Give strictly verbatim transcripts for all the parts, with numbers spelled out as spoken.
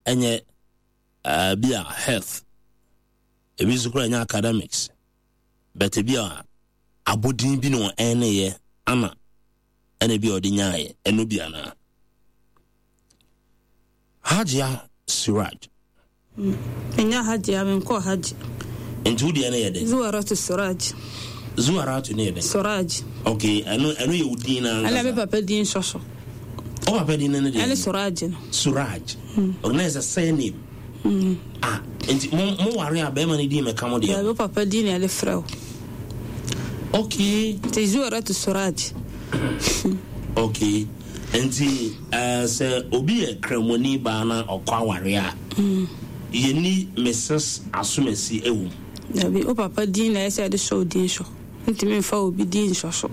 Ɛnyɛ uh, bi a health, ebi nso koraa ɛnyɛ academics, but ebi a abodin bi na ɔɛneyɛ ana ɛna bi a ɔde nyaayɛ ɛno bi anaa. Hajia Suraj. Ɛnyɛ Hajia, menkɔ Hajj. Nti wo deɛ no yɛ dɛ? Zuwaratu Suraj. Zuwaratu ne yɛ dɛ? Suraj. Okay, ɛno ɛno yɛ wo din na ankasa? Ɛna me papa din sɔ so. O papa din no ne deɛ? Ɛne Suraj no. Suraj. Mm. Okay, na yɛ sɛ surname. Mm. Ah, nti mo mo ware a bɛrima no din mɛka mo deɛ? Dabi, wo papa din na yɛde frɛ wo. Okay. Nti Zuwaratu Suraj. Okay. Nti uh, sɛ obi yɛ kramoni baa na ɔkɔ aware a, mm. yɛni Missus Asomasi ɛwɔ mu. Dabi, wo papa din na ɛsɛ yɛde sɔ wo din so. Ntumi mfa obi din nsɔ so.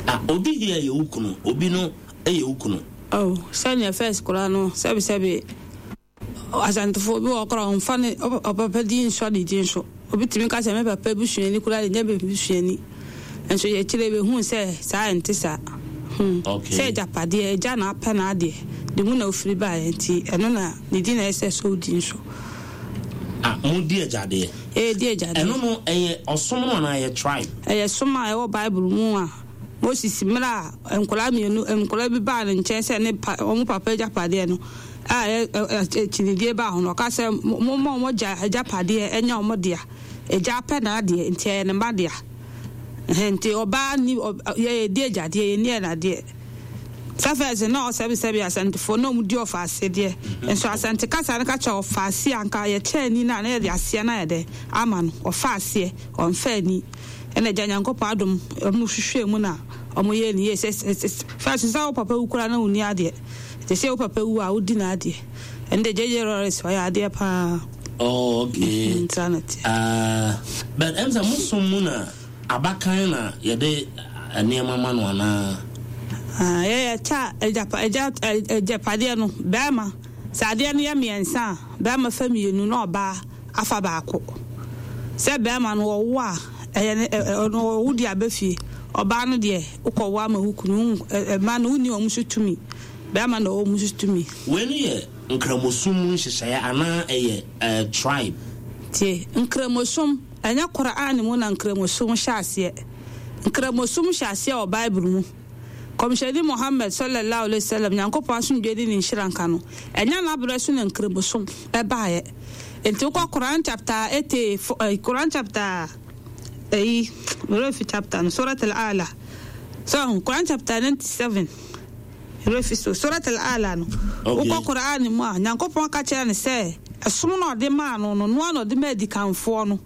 Ah, obi yɛ yɛ wo kunu, obi no yɛ wo kunu. Oh, sɛnea first koraa no, sɛbisɛbi Asantefoɔ bi wɔ koraa ɔmfa ne ɔpapa din nsɔ ne din so. Obi tumi ka sɛ me papa busuani koraa de nyɛ me busuani. Nso yɛkyerɛ bɛhu sɛ saa ɛnte saa. Hmm. Okay. Sɛ agyapadeɛ, agya na apɛ n'adeɛ, de mu na ofiri baeɛ nti ɛno na ne din na ɛsɛ sɛ odi nso. Ah, mo di agyadeɛ? Ɛyɛ di agyadeɛ. Ɛno no ɛyɛ ɔsom no anaa ɛyɛ tribe? Ɛyɛ som a ɛwɔ Bible mu a Moses mmerɛ a nkwadaa mmienu nkwadaa bi baa ne nkyɛn sɛ ne pa wɔn papa agyapadeɛ no a ɛyɛ akyinnyedie baa ho no, ɔka sɛ momma wɔn agya agyapadeɛ ɛnyɛ wɔn dea. Agya apɛ n'adeɛ nti ɛyɛ ne mma dea. Nti ɔbaa ni yɛdi agyadeɛ, yɛnni ɛnadeɛ. Sɛ fɛs na ɔsɛbisɛbi Asantefoɔ na wɔn di ɔfa ase deɛ, nso Asante kasa no ka kyerɛ ɔfa ase a nka yɛkyɛ ani no a na yɛde aseɛ no ayɛ dɛ ama no, ɔfa aseɛ ɔmfa ani. Ɛna agya Nyankopɔn adom wɔn hwehwɛ mu na wɔn yɛ ne yie. Sɛ fɛs sɛ wo papa wu koraa na wonni adeɛ, te sɛ wo papa wu a wodi n'adeɛ. Ɛnde J J Lawrence ɔyɛ adeɛ paa. Oh, okay. Mm, saa na teɛ. Uh, but ɛm sɛ mo som mu na abakan na yɛde nneɛma ma no anaa? Ah, yɛyɛ kyɛ agyapa agya agyapadeɛ no bɛrima sɛ adeɛ no yɛ mmiɛnsa a bɛrima fa mmienu na ɔbaa afa baako. Sɛ bɛrima no ɔwo a ɛyɛ ne ɔno ɔwo deɛ aba fie, ɔbaa no deɛ wokɔwo ama wo kunu mma no wonni wɔn so tumi. Bɛrima na ɔwɔ mu so tumi. Wei no yɛ Nkramosom mu nhyehyɛeɛ anaa ɛyɛ eh, tribe? Tie, Nkramosom, ɛnyɛ Qur'aan mu na Nkramosom hyɛ aseɛ. Nkramosom hyɛ aseɛ wɔ Bible mu. Kɔmhyɛni Muhammad, Sallallahu Alaihi Wasallam, Nyankopɔn asomdwoeɛ ne ne nhyira nka no, ɛnyɛ n'abrɛ so na Nkramosom baeɛ. Enti wokɔ Qur'aan chapter eighty four, eh, Qur'aan chapter ɛyi, me werɛ fi chapter no, Surat Al-A'la. So, Qur'aan chapter ninety seven. Werɛ fi so. Surat Al-A'la no, wokɔ Qur'aan mu a, Nyankopɔn ka kyerɛ no sɛ, ɛsom no a Ɔde maa no no, no ara na Ɔde maa adikanfoɔ no.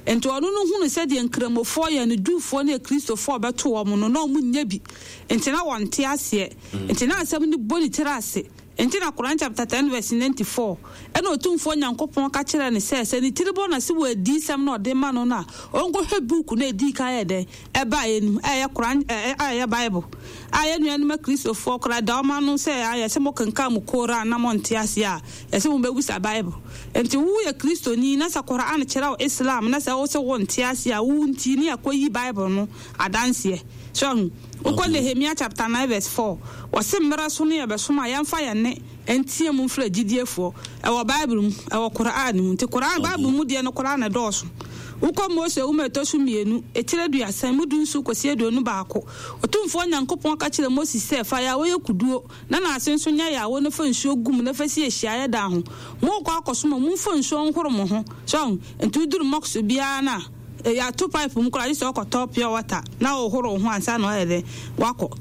Enti ɔno no hunu sɛdeɛ Nkramofoɔ yɛ no, Jewfoɔ ne Akristofoɔ a ɔbɛto wɔn no, na wɔn nnyɛ bi. Enti na wɔnte aseɛ. Enti na asɛm no bɔ ne tiri ase. Enti na Qur'aan chapter ten verse ninety four, ɛna Otumfoɔ Nyankopɔn ka kyerɛɛ no sɛ, sɛ ne tiri bɔ no ase wɔ adiyisɛm no a Ɔde ma no no a, ɔnkɔhwɛ book no a edii kan yɛ dɛn? Ɛbaeɛ no mu, a ɛyɛ Qur'aan, a ɛyɛ Bible, a yɛn nuanom Akristofoɔ koraa da wɔn ano sɛ ayɛ sɛ mokenkan mo Koran na monte aseɛ a, yɛse mobɛbisa Bible. Enti woyɛ Kristoni na sɛ Qur'aan kyerɛ wo Islam na sɛ wose wonte aseɛ a, wo nti ne yɛakɔyi Bible no adanseɛ. So ahu? Wokɔ Nehemia chapter nine verse four, wɔse mmerɛ so no yɛbɛsom a yɛmfa yɛn nne nteɛ mu mfrɛ agyidiefoɔ. Ɛwɔ Bible mu, ɛwɔ Qur'aan mu. Nti Qur'aan, Bible mu deɛ no koraa na ɛdɔɔso. Wokɔ Mose nwoma a ɛtɔ so mmienu, etire aduasa, emu dunson kɔsi aduonu baako, Otumfoɔ Nyankopɔn ka kyerɛɛ Moses sɛ, Fa yaawa yɛ kuduo, na n'ase nso nyɛ yaawa na fa nsuo gu mu na fa si ahyiaeɛ dan ho. Morekɔ akɔsom a, momfa nsuo nhoro mo ho. So ahu? Nti woduru mosque biara no a, yɛato pipe mu koraa, gye sɛ wokɔtɔ pure water na wohoro wo ho ansa na woayɛ dɛn? Woakɔ.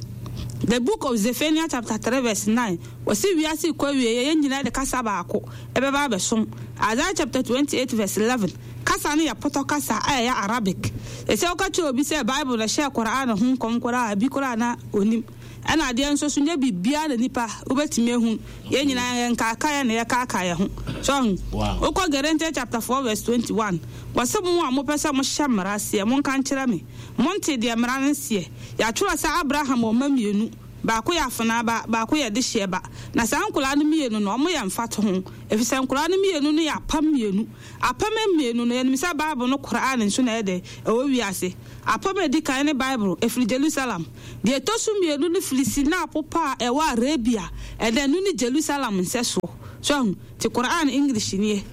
The Book of Zephaniah chapter three verse nine, wɔse wiase rekɔ awieɛ, yɛn nyinaa de kasa baako ɛbɛba abɛsom. Isaiah chapter twenty eight verse eleven, kasa no yɛ pɔtɔ kasa a ɛyɛ Arabic. Ɛsɛ woka kyerɛ obi sɛ Bible na ɛhyɛɛ Qur'aan ho nkɔm koraa a, ebi koraa na ɔnnim. Ɛna adeɛ nso so nyɛ biribiara na nipa wobɛtumi ahu. Yɛn nyinaa yɛn nkaakaeɛ na yɛkaakae yɛn ho. So ahu? Wokɔ Galatians chapter four verse twenty one, wɔse mo a mopɛ sɛ mohyɛ mmara aseɛ, monka nkyerɛ me, monte deɛ mmara no seɛ? Yɛatwerɛ sɛ Abraham wɔ mma mmienu, Baako yɛ afenaa ba, baako yɛ dehyeɛ ba. Na saa nkoraa no mmienu no, wɔn yɛ mfatoho. Ɛfiri sɛ nkoraa no mmienu no yɛ apam mmienu. Apam mmienu no, yɛnim sɛ Bible no Qur'aan nso na ɛyɛ dɛn? Ɛwɔ wiase. Apam a ɛdi kan ne Bible, ɛfiri Jerusalem. Deɛ ɛtɔ so mmienu no firi Sinai Bepɔ a ɛwɔ Arabia, ɛnna ɛno ne Jerusalem nsɛsoɔ. So ahu? Nti Qur'aan English nie.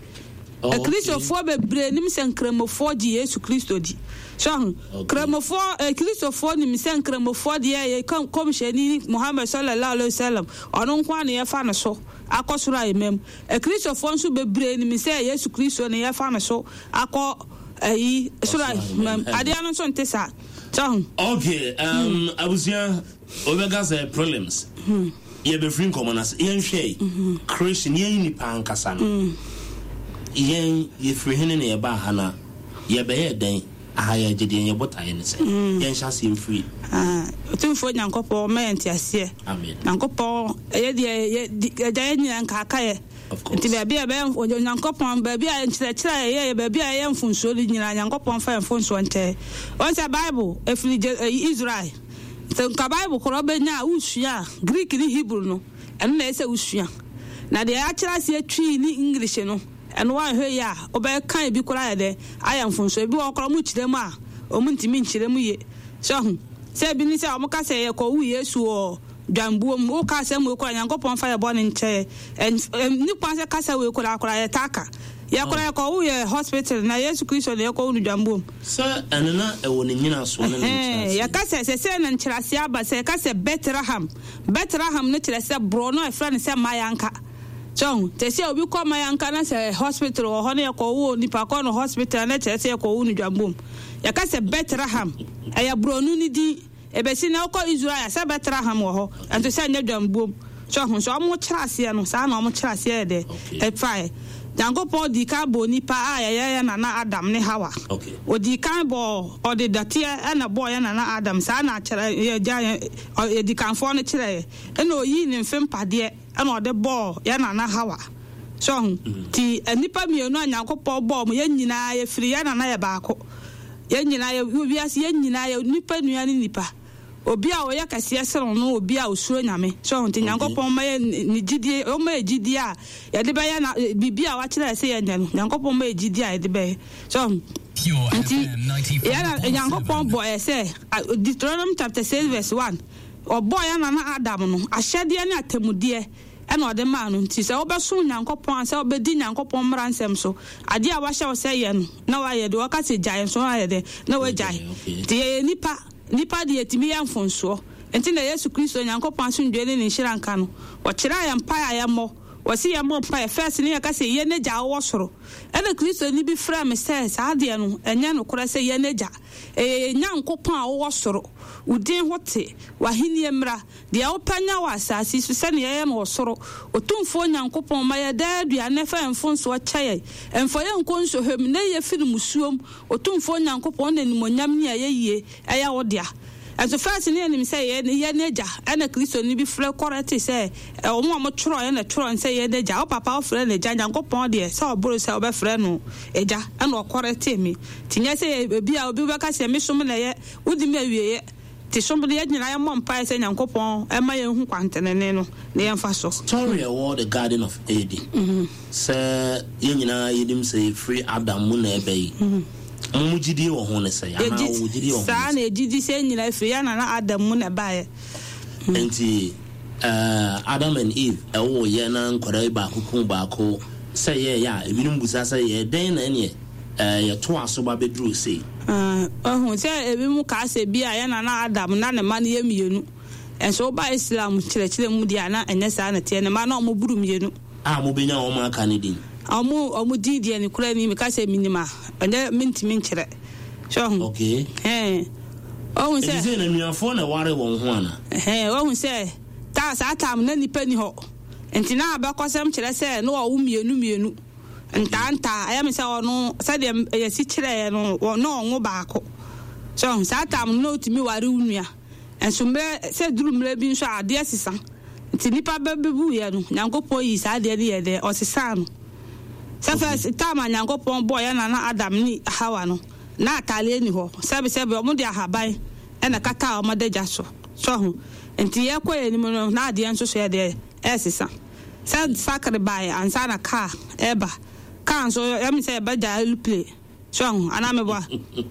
Oh, okay. Akristofoɔ bebree nim sɛ Nkramofoɔ gye Yesu Kristo di. So ahu? Okay. Nkramofoɔ, eh, Kristofoɔ nim sɛ Nkramofoɔ deɛ yɛ Kɔmhyɛni Muhammad sallallahu alaihi wasallam, ɔno nko ara na yɛfa no so akɔ soro ahemman mu. Akristofoɔ nso bebree nim sɛ Yesu Kristo na yɛfa no so akɔ ayi soro ahemman mu. Adeɛ no nso nte saa. So ahu? Okay, um, hmm. Abusua, wobɛka sɛ prelims. Hmm. Yɛbɛfiri nkɔmmɔ no ase. Yɛnhwɛ yi, hmm. Creation, yɛn nipa ankasa no. Hmm. Yɛn yɛfiri hene na yɛbaa ha na yɛbɛyɛ dɛn? Aha yɛ agye deɛ yɛn botaeɛ ne sɛ mm. yɛnhyɛ aseɛ mfiri. Ah, Otumfoɔ Nyankopɔn ma yɛn nteaseɛ. Amen. Nyankopɔn ɛyɛ deɛ yɛ agya yɛn nyinaa nkaakaeɛ. Nti baabi a ɛbɛyɛ Onyankopɔn baabi a nkyerɛkyerɛ a yɛyɛ baabi a ɛyɛ mfonsuo no nyinaa Nyankopɔn fa yɛn mfonsuo nkyɛn. Wɔn sɛ Bible ɛfiri Israel. Sɛ nka Bible korɔ bɛnya a wosua a Greek ne Hebrew no ɛno na ɛsɛ wosua. Na deɛ akyerɛ aseɛ Twi ne English no ɛno wanhwɛ yie a wobɛka ebi koraa ayɛ dɛ ayɛ mfonsuo. Ebi wɔ hɔ koraa wɔn kyerɛ mu a wɔn ntumi nkyerɛ mu yie. So ahu sɛ ebi ne sɛ wɔn ka sɛ yɛkɔwo Yesu wɔ dwanbuo mu. Woka asɛm wei koraa Nyankopɔn fa yɛ bɔne nkyɛ yɛ. Ɛnni kwan sɛ kasa wei koraa koraa yɛtaa ka. Yɛ koraa yɛkɔwo yɛ hospital na Yesu Kristo na yɛkɔwo no dwanbuo mu. Sɛ ɛno na ɛwɔ ne nyinasoɔ ne ne nkyerɛaseɛ. Yɛka sɛ sɛsɛɛ na nkyerɛaseɛ aba sɛ yɛka sɛ Bethlehem. Bethlehem no kyerɛ sɛ borɔno a yɛfrɛ no sɛ Mayanka. So ahu? Te sɛ obi kɔ Mayanka na sɛ hospital wɔ hɔ na yɛkɔwo onipa kɔ no hospital na kyerɛ sɛ yɛkɔwo no dwambom. Yɛka sɛ Bethlehem, ɛyɛ borɔno no din. Ebesi nnɛ wokɔ Israel a, sɛ Bethlehem wɔ hɔ, nso sɛ ɛnyɛ dwambom. So ahu? So wɔn kyerɛ aseɛ no, saa na wɔn kyerɛ aseɛ yɛ dɛ ɛfaeɛ. Nyankopɔn dii kan bɔɔ nipa a yɛyɛ yɛn nana Adam ne Hawa. Odii kan bɔɔ, ɔde dɔteɛ na ɛbɔɔ yɛn nana Adam, saa na akyerɛ, yɛn agya, yɛn, adikanfoɔ no kyerɛeɛ. Ɛna oyii ne mfe mpadeɛ. Ɛna ɔde bɔɔ yɛn nana Hawa. So ahu? Nti nnipa mmienu a Nyankopɔn bɔɔ wɔn, yɛn nyinaa yɛfiri yɛn nana yɛ baako. Yɛn nyinaa yɛ, wɔ wiase yɛn nyinaa yɛ nnipa nua ne nnipa. Obi a ɔyɛ kɛseɛ sene wo no obi a osuro Nyame. So ahu? Nti Nyankopɔn ma yɛ ne gyidie, ɔma yɛ gyidie a yɛde bɛyɛ na, biribi a wakyerɛ yɛ sɛ yɛnyɛ no, Nyankopɔn ma yɛ gyidie a yɛde bɛyɛ. So ahu? Nti yɛn na Nyankopɔn bɔ yɛ sɛ, Deuteronomy chapter six verse one, Ɔbɔɔ yɛn nana Adam no, ahyɛdeɛ ne atemmudeɛ na ɔde maa no. Nti sɛ wobɛsom Nyankopɔn a, sɛ wobɛdi Nyankopɔn mmara nsɛm so, adeɛ a wahyɛ wo sɛ yɛ no, na woayɛ, deɛ ɔka sɛ gyae nso na woayɛ dɛn? Na woagyae. Nti yɛyɛ nnipa, nnipa deɛ yɛtumi yɛ mfomsoɔ. Nti na Yesu Kristo, Nyankopɔn asomdwoeɛ ne ne nhyira nka no, ɔkyerɛɛ yɛn mpaeɛ a yɛmmɔ. Ɔse yɛmmɔ mpaeɛ, first no yɛka sɛ, Yɛn Agya a wowɔ soro. Ɛna Kristoni bi frɛɛ me sɛ saa adeɛ no, ɛnyɛ nokorɛ sɛ yɛn Agya. Ɛyɛ yɛn Nyankopɔn a wowɔ soro, wo din ho te, w'ahennie mmra, deɛ wopɛ nyɛ wɔ asase yi so sɛdeɛ ɛyɛ no wɔ soro. Otumfoɔ Nyankopɔn, ma yɛn daa aduane na fa yɛn mfomsoɔ kyɛ yɛn. Mfa yɛn nkɔ nsɔhwɛ mu, na yi yɛn firi mmusuo mu. Otumfoɔ Nyankopɔn, wo na animuonyam ne ayɛyie yɛ wo dea. Nso first no yɛnim sɛ yɛn yɛn agya ɛna Kristoni bi frɛ kɔrɛte sɛ wɔn a wɔtwerɛeɛ na ɛtwerɛ no sɛ yɛn agya. Wo papa wofrɛ no agya, Nyankopɔn deɛ sɛ ɔboro sɛ wobɛfrɛ no agya ɛna ɔkɔrɛtee me. Nti nyɛ sɛ ebi a obi bɛka sɛ me som na ɛyɛ, wodi me awieɛ. Nti som no yɛn nyinaa yɛmmɔ mpaeɛ sɛ Nyankopɔn mma yɛnhu kwantenenee no na yɛmfa so. Story a ɛwɔ the Garden of Eden sɛ yɛn nyinaa yɛnim sɛ ɛfiri Adam mu na ɛba yi, mo mo gyidie wɔ ho ne sɛn? Anaa wo gyidie wɔ ho ne sɛn? Saa na yɛgye di sɛ yɛn nyinaa ɛfiri yɛn nana Adam mu na ɛbaeɛ. Nti eh, Adam and Eve ɛwoo yɛ na nkwadaa yi baako kum baako sɛ yɛɛyɛ a, ebinom bisa sɛ yɛɛ dɛn na ɛneɛ eh, yɛtoa so ba bɛduruu sei? Ah, wahu sɛ ebinom kaa sɛ bi a yɛn nana Adam na ne mma no yɛ mmienu. Nso woba Islam nkyerɛkyerɛ mu deɛ a, na ɛnyɛ saa na ɛteɛ. Ne mma no wɔboro mmienu. A mobɛnya wɔn aka no din? Wɔn, wɔn din deɛ nokorɛ ni, meka sɛ menim a, ɛnyɛ, mentumi nkyerɛ. So wahu? Okay. Ɛhɛn. Wahu sɛ. Enti sei na anuafoɔ na ɛware wɔn ho ana? Ɛhɛn, wahu sɛ, ta, saa tam no na nnipa nni hɔ. Nti na abakɔsɛm kyerɛ sɛ na wɔwo mmienu mmienu. Ntaa ntaa, ɛyɛ me sɛ ɔno, sɛdeɛ yɛsi kyerɛeɛ no, wɔ, na ɔnwo baako. So wahu? Saa tam no na wotumi ware wo nua. Nso mmerɛ, sɛ ɛduru mmerɛ bi nso a, adeɛ sesa. Nti nnipa bɛ bɛbuiɛ no, Nyankopɔn yii saa adeɛ no yɛɛ dɛn? Ɔsesaa no. Sɛ first time a Nyankopɔn bɔɔ yɛn nana Adam ne Hawa no, na ataadeɛ nni hɔ. Sɛbesɛbe, wɔde ahaban na ɛkataa wɔn adagya so. So ho. Nti yɛkɔ yɛn anim no na adeɛ nso so yɛ deɛ ɛsesa. Sɛ sakre baeɛ ansa na kaa ɛba. Kaa nso ɛmi sɛ yɛbɛgya aeroplane. So ho anaa meboa.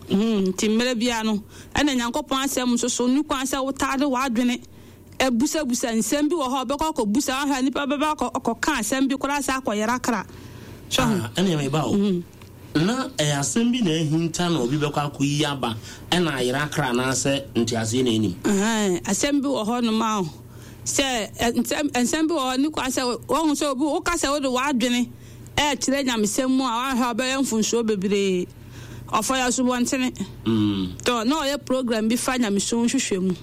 Nti mmerɛ biara no ɛna Nyankopɔn asɛm nso so ne kwan sɛ wotaade w'adwene ebusabusa nsɛm bi wɔ hɔ ɔbɛkɔ akɔbusa ahwɛ nipa bɛba akɔka asɛm bi koraa sɛ akɔyera kra. So ho. Ɛna meba o. Na ɛyɛ asɛm bi na ahinta na obi bɛkɔ akɔyi aba ɛna ayera kra anaasɛ nteaseɛ na ɛnim. Asɛm bi wɔ hɔ nom a sɛ nsɛm bi wɔ hɔ ne kwan sɛ wɔhu sɛ obi woka sɛ wode w'adwene ɛkyerɛ nyamesɛm mu a wahwɛ ɔbɛyɛ mfonsuo bebree. Ɔfa yɛ asubɔntene. Tɔ na ɔyɛ program bi fa nyamesom hwehwɛ mu.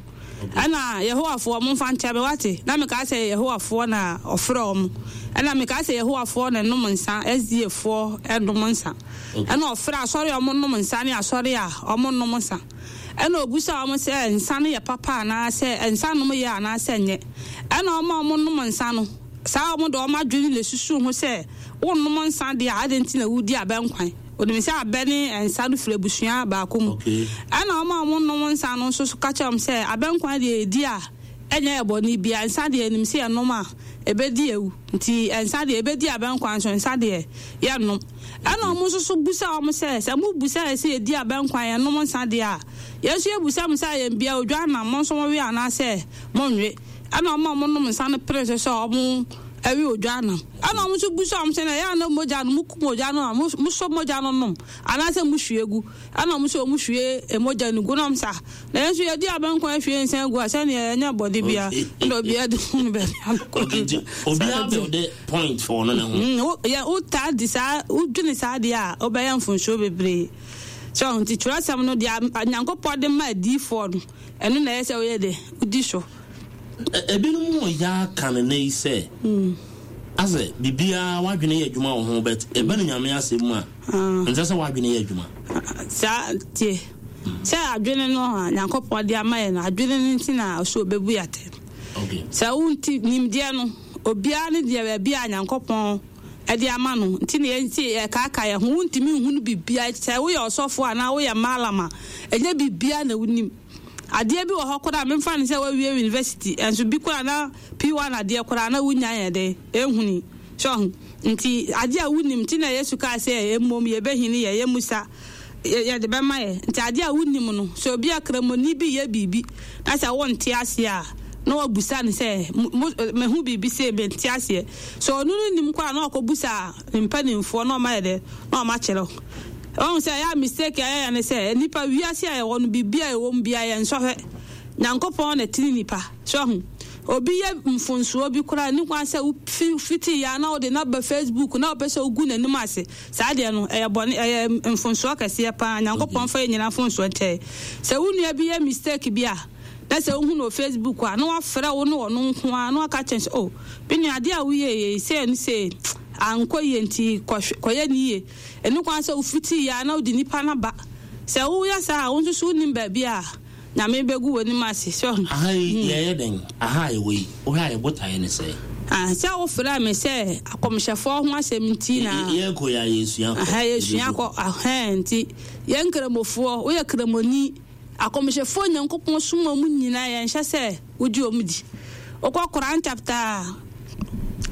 Ɛna Yehowafoɔ momfa nkyɛ me wate. Na meka sɛ Yehowafoɔ na ɔfrɛ ɔmo. Ɛna meka sɛ Yehowafoɔ na ɛnom nsa, S D A foɔ ɛnom nsa. Ɛna ɔfrɛ asɔre a ɔmo nom nsa ne asɔre a ɔmo nom nsa. Ɛna obusa ɔmo sɛ nsa no yɛ papa anaasɛ nsa nom yɛ anaasɛ nyɛ. Ɛna ɔmo a ɔmo nom nsa no saa ɔmo de ɔmo adwene na esusu ho sɛ wonnom nsa deɛ a ade nti na wodi abɛnkwan. Onim sɛ abɛ ne nsa no firi abusua baako mu. Ɛna ɔmo a ɔmo nom nsa no nso ka kyerɛ ɔmo sɛ abɛnkwan deɛ edi a ɛnyɛ ɛbɔne bia, nsa deɛ enim sɛ yɛnom a ebedi ewu. Nti nsa deɛ ebedi abɛnkwan so nsa deɛ yɛnom. Ɛna ɔmo nso so busa ɔmo sɛ sɛ mo busa yɛ sɛ yɛdi abɛnkwan yɛnom nsa deɛ a yɛn nso yɛbusa mo sɛ yɛn bia odwa nam mo nso mo we anaasɛ mo nwe. Ɛna ɔmo a ɔmo nom nsa no pere so sɛ ɔmo ɛwe odwa nam. Ɛna ɔmo nso busa ɔmo sɛ na ɛyɛ ana mogya no mo kum ogya no a mo sɔ mogya no nom anaasɛ mo hwie gu. Ɛna ɔmo sɛ ɔmo hwie mogya no gu na ɔmo sa na yɛn nso yɛdi abɛnkwan hwie nsa gu a sɛnea ɛnyɛ bɔde bia ɛna obiara de hu no baabi akɔ. Obiara build point for no ne ho. Yɛ wotaa di saa wodwene saa deɛ a wobɛyɛ mfonsuo bebree. So nti twerɛsɛm no deɛ Nyankopɔn de ma adiyifoɔ no ɛno na ɛyɛ sɛ woyɛ de wodi so. Ebinom wɔ ya ka ne ne sɛ asɛ bibia wadwene yɛ adwuma wɔ ho bet ebe ne Nyame asɛm mu a nsɛ sɛ wadwene yɛ adwuma. Saa tie sɛ adwene no a Nyankopɔn de ama yɛ no adwene no nti na ɔso obebu yɛ. Okay. Sɛ wonti nimdeɛ no obiara ne deɛ baabi a Nyankopɔn ɛde ama no nti na yɛnti ɛkaaka yɛ ho wontumi nhu no bibia. Sɛ woyɛ ɔsɔfo anaa woyɛ malama ɛnyɛ bibia na wonim. Adeɛ bi wɔ hɔ koraa memfa ne sɛ woawie university ɛnso bi koraa na P one adeɛ koraa na wonya yɛ de ɛhuni. So nti adeɛ a wonim nti na Yesu kaa sɛ mmom yɛbɛhini yɛ yɛ musa yɛde bɛma yɛ. Nti adeɛ a wonim no sɛ obi akramoni bi yɛ biribi na sɛ wonte aseɛ a na wabusa ne sɛ mehu biribi sɛ mente aseɛ. So ɔno no nim koraa na ɔkɔbusa mpanimfoɔ na ɔma yɛ dɛ na ɔma kyerɛ. Ɔhu sɛ ɛyɛ mistake a yɛyɛ ne sɛ nipa wiase a yɛwɔ no biribi a ɛwɔ mu bia yɛ nsɔhwɛ. Nyankopɔn na tiri nipa. So ɔhu obi yɛ mfonsuo bi koraa ne kwan sɛ fiti ya na wode na ba Facebook na wopɛ sɛ wogu n'anim ase. Saa deɛ no ɛyɛ bɔne, ɛyɛ mfonsuo kɛseɛ paa. Nyankopɔn fa yɛ nyinaa mfonsuo nkyɛe. Sɛ wo nua bi yɛ mistake bi a na sɛ wohu no Facebook a na wafrɛ wo ne ɔno nko a na waka kyerɛ sɛ oh bi nua adeɛ a woyɛ yɛ sɛ no sɛ ankɔ yie nti kɔyɛ ne yie. Ɛno kwan sɛ wofiti ya na wode nipa no ba. Sɛ woyɛ saa a wo nso so wonim baabi a Nyame bɛgu w'anim ase. So aha yi yɛyɛ dɛn? Aha yɛ wei. Wohwɛ a yɛbotaeɛ ne sɛ ah sɛ wofrɛ me sɛ akɔmhyɛfoɔ ho asɛm nti na yɛkɔ yɛ a yɛsua kɔ. Aha yɛsua kɔ. Aha nti yɛn nkramofoɔ woyɛ kramoni akɔmhyɛfoɔ Nyankopɔn som mu nyinaa yɛnhyɛ sɛ wogye ɔmu di. Wokɔ Quran chapter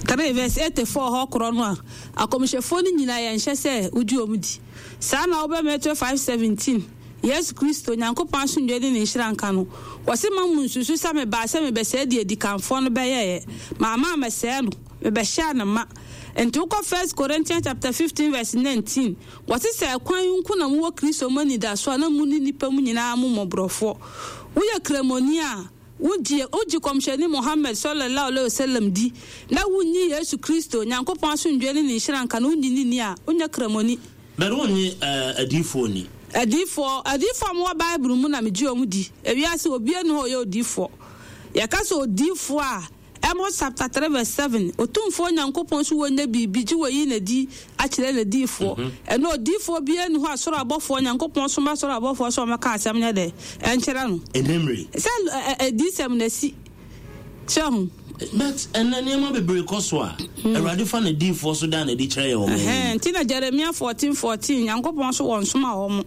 three verse eighty-four hɔ korɔ no a akɔmhyɛfoɔ no nyinaa yɛnhyɛ sɛ wogye ɔmu di. Saa na wobɛ Matthew five seventeen Yesu Kristo Nyankopɔn asomdwoe ne ne nhyira nka no. Wɔse ma mu nsusu sɛ mebaa sɛ mebɛsɛe deɛ adikanfoɔ no bɛyɛeɛ. Maama mɛsɛe no, mebɛhyɛɛ no ma. Nti wokɔ First Corinthians chapter fifteen verse nineteen wɔse sɛ ɛkwan nko na mowɔ Kristo mu anidaso a na mu ne nnipa mu nyinaa mo mmɔborɔfoɔ. Woyɛ kramoni a wogye wogye kɔmhyɛni Muhammad sallallahu alaihi wasallam di na wonnyi Yesu Kristo Nyankopɔn asomdwoe ne ne nhyira nka no wonnyi ne ni a wonyɛ kramoni. Bɛrɛ wonnye adiyifoɔ ni. Adiyifoɔ adiyifoɔ a mowɔ Bible mu na megye wɔn di. Ewiase obiara nni hɔ a ɔyɛ odiyifoɔ. Yɛka sɛ odiyifoɔ a Amos chapter three verse seven Otumfoɔ Nyankopɔn so wɔnyɛ biribi gye wɔyi n'adi akyerɛ n'adiyifoɔ. Ɛno odiyifoɔ biara nni hɔ a soro abɔfoɔ Nyankopɔn soma soro abɔfoɔ sɛ ɔmmɛka asɛm nyɛ dɛ ɛnkyerɛ no. Ɛnɛmmere. Sɛ adiyisɛm na asi. Sɛ ho. But ɛnɛ nneɛma bebree kɔ so a Awurade fa n'adiyifoɔ so da n'adi kyerɛ yɛ wɔn. Nti na Jeremia fourteen fourteen Nyankopɔn so wɔn soma wɔn.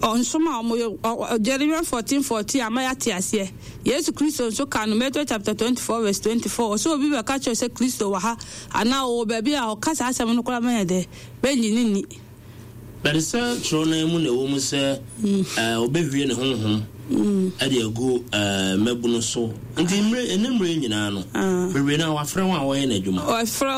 Ɔnsom a wɔyɛ, Jeremiah fourteen fourteen ama yɛate aseɛ. Yesu Kristo nso kaa no Matthew chapter twenty four verse twenty four, ɔsɛ obi bɛka kyerɛ sɛ Kristo wɔ ha anaa ɔwɔ baabi a, ɔka saa asɛm no koraa mɛyɛ dɛ bɛnyi ne nni. Bɛde sɛ twerɛ no mu na ɛwɔ mu sɛ ɔbɛhwie ne honhom ɛde agu mmabunu so. Nti mmerɛ ɛne mmerɛ nyinaa no, bebree no a wafrɛ wɔn a wɔyɛ n'adwuma. Wɔfrɛ.